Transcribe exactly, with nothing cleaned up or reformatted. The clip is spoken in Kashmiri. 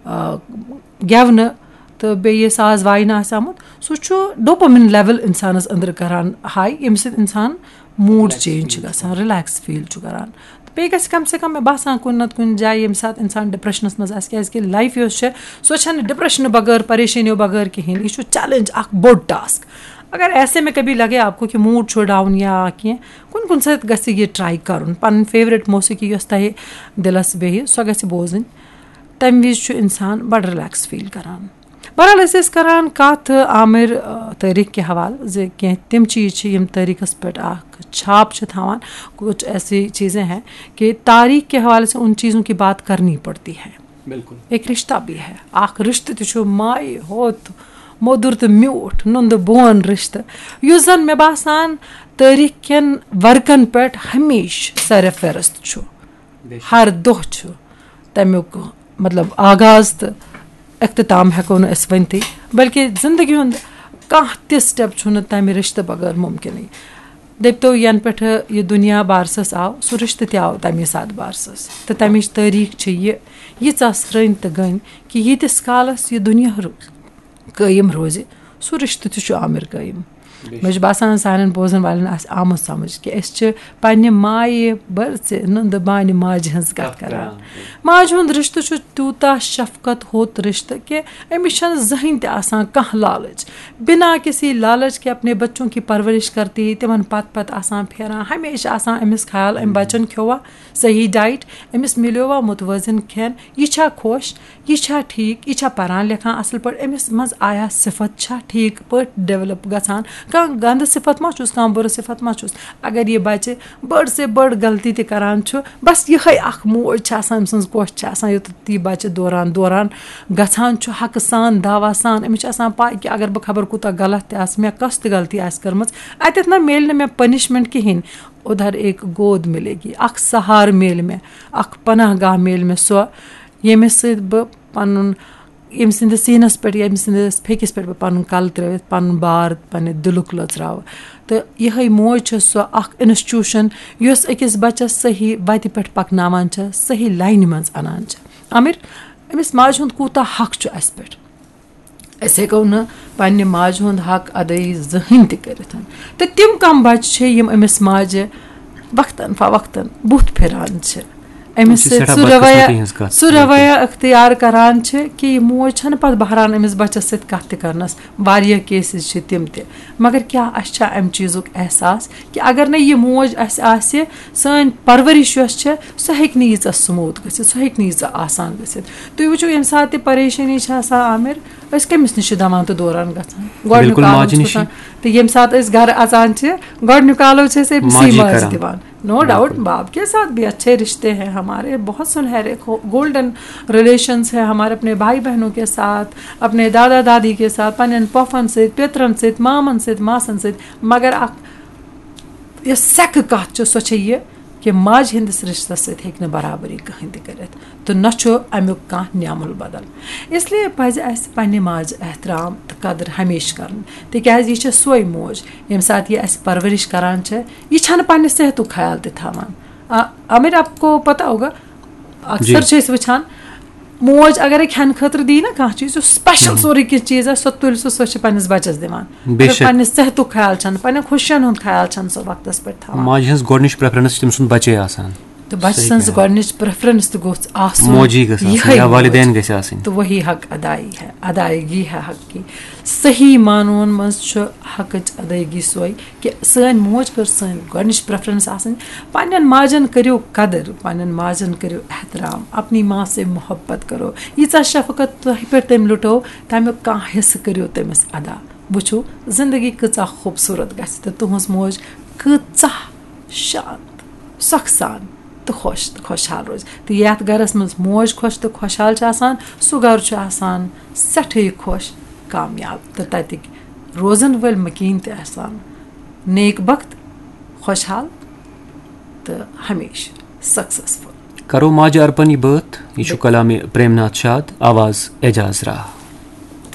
آ، گٮ۪ونہٕ تہٕ بیٚیہِ یہِ ساز واینہٕ آسہِ آمُت، سُہ چھُ ڈوپامین لیول اِنسانَس أنٛدرٕ کران ہاے، ییٚمہِ سۭتۍ اِنسان موٗڈ چینج چھُ گژھان، رِلیکٕس فیٖل چھُ کران۔ تہٕ بیٚیہِ گژھِ کم سے کم، مےٚ باسان، کُنہِ نتہٕ کُنہِ جایہِ ییٚمہِ ساتہٕ اِنسان ڈپریشنس منٛز آسہِ، کیازِ کہِ لایف یۄس چھےٚ، سۄ چھَنہٕ ڈپریشنہٕ بغٲر، پریشٲنیو بغٲر کِہیٖنۍ۔ یہِ چھُ چیلنج اکھ بوٚڑ ٹاسک۔ اگر ایسے میں کبھی لگے آپ کو کہ موٗڈ چھُ ڈاؤن یا کینٛہہ، کُنہِ کُنہِ ساتہٕ گژھِ یہِ ٹرائی کرُن، پنٕنۍ فیورٹ موسیقی یۄس تۄہہِ دِلس بیٚہہِ، سۄ گژھِ بوزٕنۍ۔ تمہِ وِزِ چھُ اِنسان بڑٕ رِلیکٕس فیٖل کران۔ بہرحال، أسۍ ٲسۍ کران کتھ عامر، آ، تٲریخ کہِ حوالہٕ، زِ کینٛہہ تِم چیٖز چھِ، یِم تٲریخس پٮ۪ٹھ اکھ چھاپ چھِ تھاوان۔ کچھ ایسی چیزیں ہیں کہ تاریخ کے حوالے سے ان چیزوں کی بات کرنی پڑتی ہے۔ بالکل۔ ایک رشتہ بھی ہے، اکھ رشتہٕ تہِ چھُ مایہِ ہوت، موٚدُر تہٕ میوٗٹھ، نُندٕ بون رشتہٕ، یُس زن، مےٚ باسان، تٲریخ کٮ۪ن ورقن پٮ۪ٹھ ہمیشہٕ سر فہرست چھُ۔ بے شک۔ ہر دۄہ چھُ تَمیُک، مطلب، آغاز تہٕ اختتام ہٮ۪کو نہٕ أسۍ ؤنتھٕے، بلکہِ زندگی ہُنٛد کانٛہہ تہِ سٹیپ چھُنہٕ تَمہِ رِشتہٕ بغٲر مُمکِنٕے۔ دٔپتو، ینہٕ پٮ۪ٹھٕ یہِ دُنیا بارسَس آو، سُہ رِشتہٕ تہِ آو تَمی ساتہٕ بارسَس۔ تہٕ تَمِچ تٲریٖخ چھِ یہِ، ییٖژاہ سرٛنۍ تہٕ گٔنۍ کہِ ییٖتِس کالَس یہِ دُنیا رو-، قٲیِم روزِ، سُہ رِشتہٕ تہِ چھُ عامر قٲیِم۔ مےٚ چھُ باسان، سانٮ۪ن بوزن والٮ۪ن آسہِ آمُت سمجھ کہِ أسۍ چھِ پننہِ مایہِ بٔرژِ نُندٕ بانہِ ماجہِ ہٕنٛز کتھ کران۔ ماجہِ ہُنٛد رشتہٕ چھُ تیوٗتاہ شفقت ہوٚت رشتہٕ کہِ أمِس چھنہٕ زٕہٕنۍ تہِ آسان کانٛہہ لالچ۔ بنا کسی لالچ کے اپنے بچوں کی پرورش کرتی، تِمن پتہٕ پتہٕ آسان پھیران، ہمیشہِ آسان أمِس خیال، أمۍ بچن کھیوٚوا صحیح ڈایٹ، أمِس مِلیووا متوازن کھٮ۪ن، یہِ چھا خۄش، یہِ چھا ٹھیٖک، یہِ چھا پران لیکھان اصل پٲٹھۍ، أمِس منٛز آیا صفت چھا ٹھیٖک پٲٹھۍ ڈیولپ گژھان، کانٛہہ گندٕ صفت ما چھُس، کانٛہہ بُرٕ صفت ما چھُس۔ اگر یہِ بچہِ بٔڑ سے بٔڑ غلطی تہِ کران چھُ، بس یِہے اکھ موج چھِ آسان، أمۍ سٕنٛز کۄش چھِ آسان، یوٚتتھ یہِ بچہِ دوران دوران گژھان چھُ حقہٕ سان، دعویٰ سان۔ أمِس چھِ آسان پاے کہِ اگر بہٕ خبر کوٗتاہ غلط تہِ آسہٕ، مےٚ کۄس تہِ غلطی آسہِ کٔرمٕژ، اتٮ۪تھ نہ میلہِ نہٕ مےٚ پنشمنٹ کِہینۍ۔ ادھر ایک گود ملے گی، اکھ سہارٕ میلہِ مےٚ، اکھ پناہ گاہ میلہِ مےٚ، سۄ ییٚمِس سۭتۍ بہٕ پنُن، ییٚمہِ سٕنٛدِس سیٖنَس پٮ۪ٹھ، ییٚمہِ سٕنٛدِس پھیٚکِس پٮ۪ٹھ بہٕ پَنُن کَلہٕ ترٛٲوِتھ، پَنُن بار پنٛنہِ دِلُک لٔژراوٕ۔ تہٕ یِہوٚے موج چھےٚ سۄ اَکھ انسٹیوٗشن، یۄس أکِس بَچَس صحیح وَتہِ پٮ۪ٹھ پَکناوان چھےٚ، صحیح لاینہِ منٛز اَنان چھےٚ۔ عامر، أمِس ماجہِ ہُنٛد کوٗتاہ حق چھُ اَسہِ پٮ۪ٹھ؟ أسۍ ہیٚکو نہٕ پنٛنہِ ماجہِ ہُنٛد حق اَدٲیی زٕہٕنۍ تہِ کٔرِتھ۔ تہٕ تِم کَم بَچہِ چھِ، یِم أمِس ماجہِ وقتاً فوقتاً بُتھ پھِران چھِ، أمِس یہِ چھِ سۭتۍ سٮ۪ٹھاہ سُہ رویہ، بدقٕسمتی ہٕنٛز کَتھ۔ سُہ رویہ اختیار کران چھِ کہِ یہِ موج چھَنہٕ پَتہٕ بہران أمِس بَچَس سۭتۍ کَتھ تہِ کرنَس۔ واریاہ کیسز چھِ تِم تہِ۔ مگر کیٛاہ اَسہِ چھا اَمہِ چیٖزُک احساس کہِ اگر نہٕ یہِ موج اَسہِ آسہِ، سٲنۍ پرؤرِش یۄس چھےٚ، سۄ ہیٚکہِ نہٕ ییٖژاہ سموٗتھ گٔژھِتھ، سۄ ہیٚکہِ نہٕ ییٖژاہ آسان گٔژھِتھ۔ تُہۍ وٕچھِو، ییٚمہِ ساتہٕ تہِ پریشٲنی چھِ آسان، عامر، أسۍ کٔمِس نِش چھِ دَوان تہٕ دوران گژھان؟ گۄڈٕنیُک بِلکُل، عالم ماجہِ چھُ نِش۔ آسان۔ تہٕ ییٚمہِ ساتہٕ أسۍ گرٕ اَژان چھِ، گۄڈٕنیُک عالم چھِ أسۍ أمسٕے ماجی ماجہِ کران۔ دِوان۔ نو بِلکُل۔ ڈاؤٹ، باپ کے ساتھ بھی اچھے رشتے ہیں ہمارے، بہت سنہرے گولڈن ریلیشنز ہیں ہمارے اپنے بھائی بہنوں کے ساتھ، اپنے دادا دادی کے ساتھ، پنن پۄفن سۭتۍ، پیترن سۭتۍ، مامن سۭتۍ، ماسن سۭتۍ۔ مگر اکھ یۄس سیٚکہٕ کتھ چھِ، سۄ چھےٚ یہِ کہِ ماجہِ ہٕنٛدِس رشتس سۭتۍ ہیٚکہِ نہٕ برابری کٕہٕنۍ تہِ کٔرِتھ، تہٕ نہ چھُ امیُک کانٛہہ نعم البدل۔ اس لیے پزِ اسہِ پننہِ ماجہِ احترام تہٕ قدر ہمیشہِ کرُن، تِکیازِ یہِ چھےٚ سۄے موج، ییٚمہِ ساتہٕ یہِ اسہِ پرورش کران چھےٚ، یہِ چھنہٕ پننہِ صحتُک خیال تہِ تھاوان۔ آ، عامر، آپ کو پتہ ہوگا، اکثر جی۔ چھِ أسۍ وٕچھان، موج اگرے کھٮ۪نہٕ خٲطرٕ دی نہ کانٛہہ چیٖز، یُس سپیشل مہم۔ سورُے کینٛہہ چیٖز آسہِ، سۄ تُلہِ سُہ، سۄ چھِ پننِس بچس دِوان۔ بے اگر شک۔ پننِس صحتُک خیال چھنہٕ، پننٮ۪ن خوشین ہُنٛد خیال چھنہٕ سۄ وقتس پٮ۪ٹھ تھاوان۔ ماجہِ ہٕنٛز گۄڈٕنِچ پریفرنس چھِ تٔمۍ سُنٛد بچے آسان۔ تہٕ بچہٕ صحیح سٕنٛز کَتھ۔ گۄڈٕنِچ پریفرنس تہِ گوٚژھ آسُن۔ موجی گٔژھ آسٕنۍ یِہوٚے یا موج۔ والدین گٔژھۍ آسٕنۍ۔ تو وہی حق ادائی ہے، ادائیگی ہے حق کی۔ صحیح معنون منٛز چھُ حقٕچ ادائیگی سۄے کہِ سٲنۍ موج گٔژھ سٲنۍ گۄڈٕنِچ پریفرنس آسٕنۍ۔ پننٮ۪ن ماجن کٔرِو قدر، پننٮ۪ن ماجن کٔرِو احترام، اپنی ماں سے محبت کرو۔ ییٖژاہ شفقت تۄہہِ پٮ۪ٹھ تٔمۍ لُٹو، تمیُک کانٛہہ حصہٕ کٔرِو تٔمِس ادا۔ وٕچھِو، زندگی کۭژاہ خوٗبصوٗرت گژھِ تہٕ تُہٕنٛز موج کۭژاہ شانت، سۄکھٕ سان تہٕ خۄش تہٕ خۄشحال روزِ۔ تہٕ یتھ گرس منٛز موج خۄش تہٕ خۄشحال چھِ آسان، سُہ گرٕ چھُ آسان سٮ۪ٹھٕے خۄش، کامیاب تہٕ تتِکۍ روزن وٲلۍ مکیٖن تہِ آسان نیک بخت، خۄشحال تہٕ ہمیشہٕ سکسیسفل۔ کرو ماجہِ ارپن یہِ بٲتھ، یہِ چھُ کلامِ پریم ناتھ شاد، آواز اعجاز راہ۔